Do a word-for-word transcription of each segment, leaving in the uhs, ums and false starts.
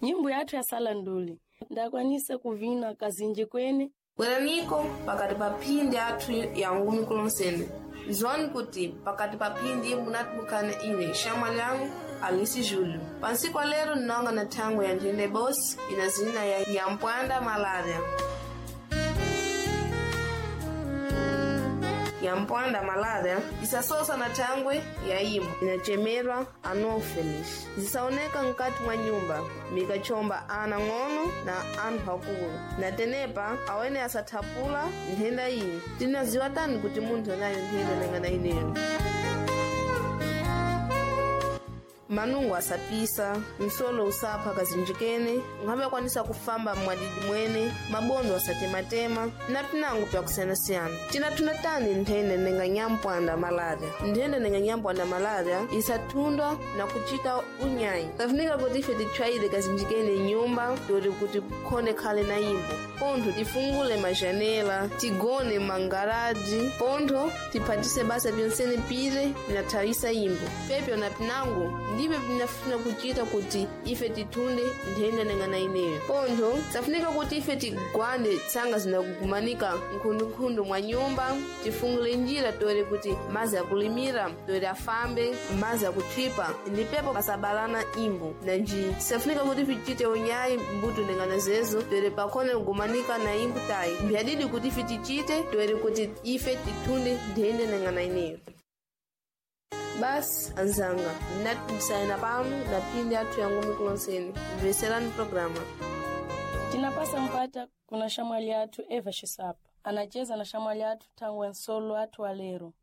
Nyimbo yathu ya salanduli ndakwanisa kuvina kazinji kwene. Bweraniko pakati pa phindi athu ya ngumi kulonsene nzwani kuti pakati pa phindi munatibukana ine xamwa lyangu Alice Júlio. Pansiku lero nnonga na thango ya nthende bosi ina zina ya Nyampwanda malaria. Nyampwanda malaria isasosa na thangwe ya imo inachemerwa anopheles zisaoneka nkati mwa nyumba mikachomba ana ng'ono na anthu akulu na tenepa awene asathapula nthenda iyi tinaziwa tani kuti munthu anayo nthenda nangana ineyo manungo asapisa msolo usapha kazinjikene nkhabe akwanisa kufamba mwadidi mwene mabondo asatematema na pinango pyakusiyanasiyana tinathunda tani nthenda nenga nyampwanda malaria nthenda nenga nyampwanda malaria isathundwa na kuchita unyayi kafunika kuti ife titchwayire kazinjikene nyumba toti kuti khone khale na imbo pontho tifungule majanela tigone mangaraji pontho tiphatise basa pyonsene pire pinathawisa imbo pepyo na pinango ndibye pinafuna kuchita kuti ife tithunde nthenda nengana ineyo pontho safunika kuti ife tigwande tsanga zinakugumanika nkhundunkhundu mwa nyumba tifungule njira tore kuti mazi akulimira tore afambe mazi akuthipa ndi pepo pasabalana imbo nanji safunika kuti tichite unyayi mbuto ndengana zezo tore pakhone kugumanika na imbo tayi mbyadidi kuti ife tichite tore kuti ife tithunde nthenda nengana ineyo basi anzanga ndinatikusayina pano na phindi athu yangu mikulonseni mveserani programa Tinapasa mpata kuna shamwali athu Eva Xisapa anacheza na shamwali athu thangwe nsolo athu walero.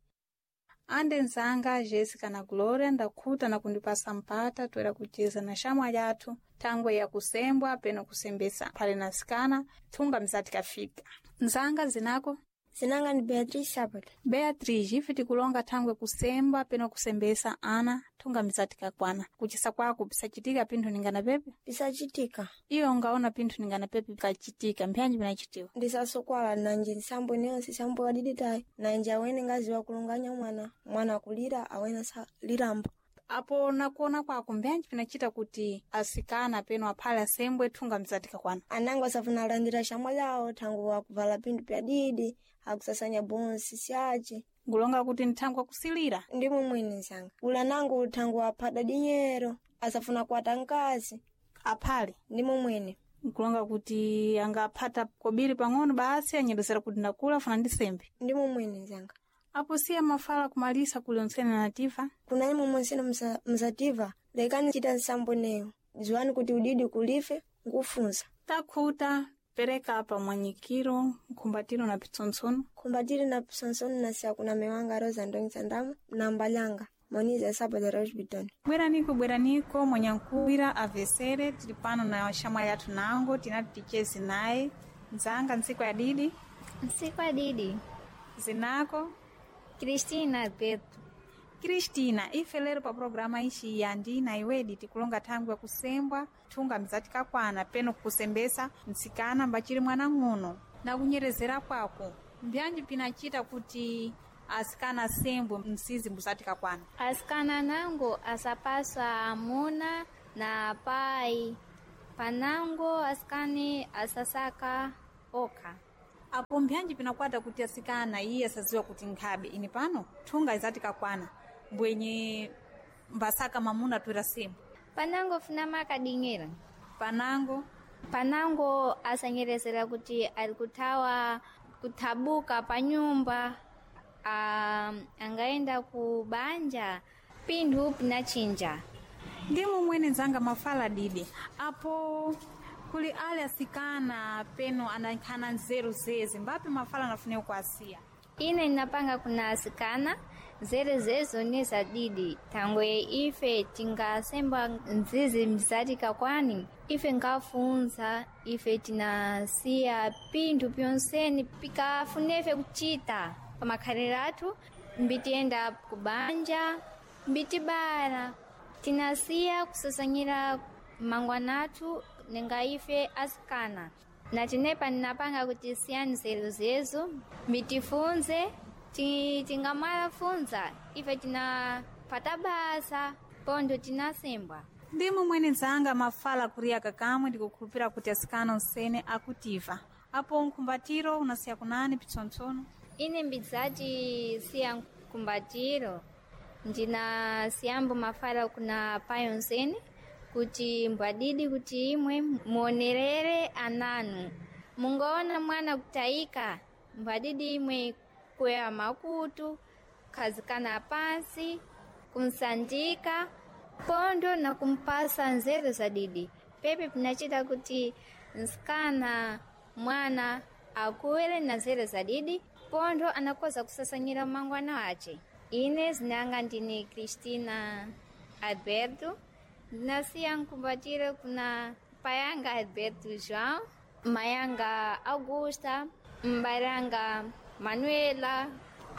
Ande nzanga Jéssica na Glória ndakhuta na kundipasa mpata toera kucheza na xamwali athu thangwe ya kusembwa peno kusembesa phale na sikana thunga mzati kafika. Nzanga zinako Zinanga ni Beatriz Sabato. Beatriz, ife tikulonga thangwe kusembwa peno kusembesa ana thunga mzati kakwana kuchisa kwako pisachitika pinthu ningana pepe Pisachitika. iwe ungaona pinthu ningana pepe pikachitika mpyanji pinachitiwa Ndisasokwala nanje nsambo neyonse sambo wadiditayi nanje awene ngaziwa kulunganya mwana mwana akulira awene saliramba apo nakuona kwako mbyanji pinachita kuti asikana peno aphale asembwe thunga mzati kakwana anango asafuna alandira shamwa lawo thangu akuvala pinthu pyadidi akusasanya bonsi syace ngulonga kuti nthangwe akusilira ndimo mwene nzanga ula nango thangu aphada dinyero asafuna kuwata mkazi aphale ndimo mwene nkulonga kuti angaphata kobiri pang'ono basi anyerezera kuti ndakula funa ndisembe ndimo mwene nzanga apo siya mafala kumalisa kuli ontsene nativa kuna imwe monsino msa- msativa lekani chita nsambo neyo ziwani kuti udidi kulife nkufunza takhuta pereka apa mwanyikiro nkhumbatiro na pitsontsono kumbatire na psonsoni na siakuna mewanga rosa ndongisa ndamo na mbalanga moniza sabata rosbiton bweraniko bweraniko mwanyankuwira avesere tili pano na xamwali athu nango tinati tichezi naye nzanga ntsiku ya didi Ntsiku adidi zinako Cristina Alberto Cristina ife lero pa programa ici ya ndina iwedi tikulonga thangwi yakusembwa thunga mzati kakwana peno kukusembesa mtsikana mbachili mwana ng'ono na kunyerezera kwako mbyanji pinachita kuti asikana asembwe msizi mbuzati kakwana asikana nango asapaswa amuna na pai panango asikani asasaka okha apo mbyanji pinakwata kuti asikana iye asaziwa kuti nkhabe ini pano thunga izati kakwana mbwenye mbasaka mamuna twera sembwe panango funa makading'era panango panango asanyerezera kuti ali kuthawa kuthabuka pa nyumba ah, angaenda ku banja pinthu pinachinja ndimo mwene nzanga mafala didi apo kuli ale asikana peno anankhana nzeru zezi mbapi mafala anafunika kuasiya ine ndinapanga kuna asikana zere zezo ni zadidi thangwe ife tingasembwa nzizi mzati kakwani ife nkafunza ife tinasiya pinthu pyonseni pikafunefe kuchita pamakhaliro athu mbitiyenda kubanja mbitibala tinasiya kusasanyira mangwana athu ninga ife asikana na tinepa ninapanga kuti siyani nzeru zezo mbitifunze ti- tingamalafunza ife tinapata basa pontho tinasembwa Ndimo mwene nzanga mafala kuriya kakamwe ndikukhulupira kuti asikana onsene akutiva apo nkhumbatiro unasiya kunani pitsontsono. Ine mbidzati siya nkhumbatiro ndina siyambo mafala kuna pai onsene kuti mbwadidi kuti imwe muonerere ananu mungaona mwana kutayika mbwadidi imwe kuya makutu khazikana pansi kumsandika pondo na kumpasa nzeru za didi pepe pinachita kuti nsikana mwana akuwere na nzeru za didi pondo anakoza kusasanyira mangwana ace. Ine zinanga ndini Cristina Alberto, ndinasiya nkumbatiro kuna payanga Alberto João, mayanga Augusta, mbaranga Manuela.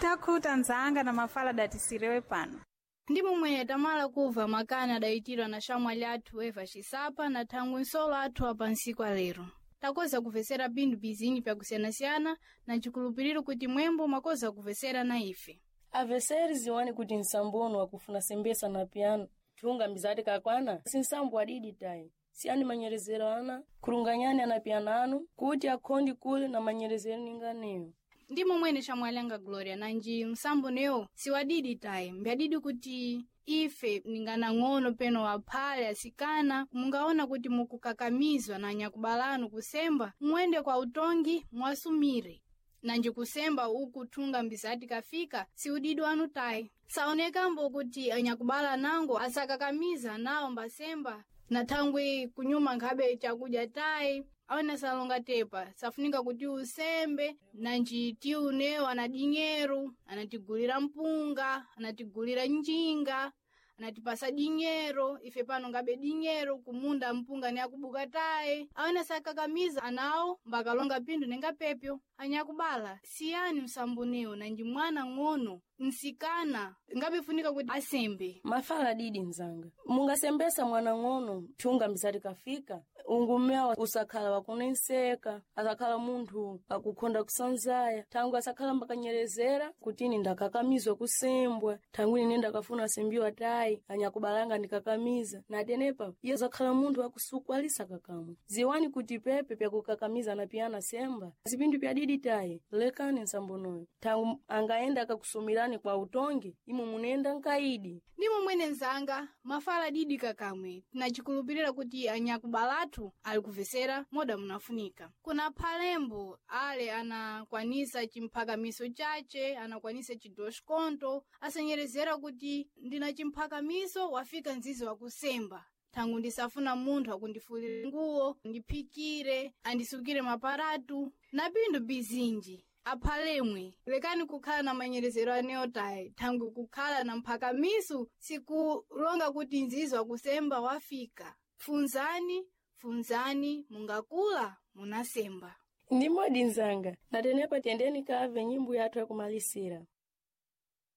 Takhuta nzanga na mafala datisirewe pano. Ndi momwene tamala kuva makani adayitirwa na xamwali athu Eva Xisapa na thangwi nsolo athu apa nsiku alero. Takoza kupvesera pinthu bizinji pyakusiyanasiyana na cikhulupiriro kuti mwembo mwakoza kupvesera na ife. Aveseri ziwani kuti nsambono wakufuna sembesa na piano thunga mbizati kakwana si nsambo adidi tayi siyani manyerezero ana khulunganyani ana piano anu kuti akhondi kule na manyerezero ninganeyo. Ndi momwene xamwali anga Gloria nanji msambo newo siwadidi tayi mbyadidi kuti ife ninganang'ono peno aphale asikana mungaona kuti mukukakamizwa na anyakubalanu kusemba muende kwa utongi mwasumire nanji kusemba uku thunga mbizati kafika siudidi wanu tayi saonekambo kuti anyakubala nango asakakamiza nawo mbasemba na thangwi kunyuma nkhabe chakudya tayi awene salonga tepa safunika kuti usembe nanji tiunewo ana dinyeru anatigulira mpunga anatigulira njinga anatipasa dinyero ife pano ngabe dinyero kumunda mpunga ni akubuka tayi awene sakakamiza anawo mbakalonga pinthu ninga pepyo anyakubala siyani msambunewo nanji mwana ng'ono nsikana ngabefunika kuti asembe. Mafala adidi nzanga mungasembesa mwana ng'ono thunga mbizati kafika ungumewa usakhala wakunenseka asakhala munthu akukhonda kusanzaya thangwi asakhala mbakanyerezera kuti ine ndakakamizwa kusembwa thangwi ine ndakafuna sembiwa tayi anyakubalanga ndikakamiza natenepa iye zakhala munthu akusukwalisa kakamwe. Ziwani kuti pepe pyakukakamiza na piyana semba zipindu pyadidi tayi lekani nsambonoyo thangwi angaenda akakusumirani kwa utongi imwe munenda nkaidi. Ndi momwene nzanga mafala didi kakamwe tinacikhulupirira kuti anyakubalatu ali kupvesera moda munafunika. Kuna phalembo ale anakwanisa chimphakamiso chace anakwanisa cidosconto asanyerezera kuti ndina chimphakamiso wafika mzizi wakusemba thangu ndisafuna munthu akundifulire nguwo ndiphikire andisukire maparatu na pinthu bizinji. Aphalemwe lekani kukhala na manyerezero anewo tayi thangwi kukhala na mphakamiso sikulonga kuti nzizi wakusemba wafika. Funzani funzani mungakula munasemba. Ndimodi nzanga natenepa tiyendeni kave nyimbo yathu yakumalisira.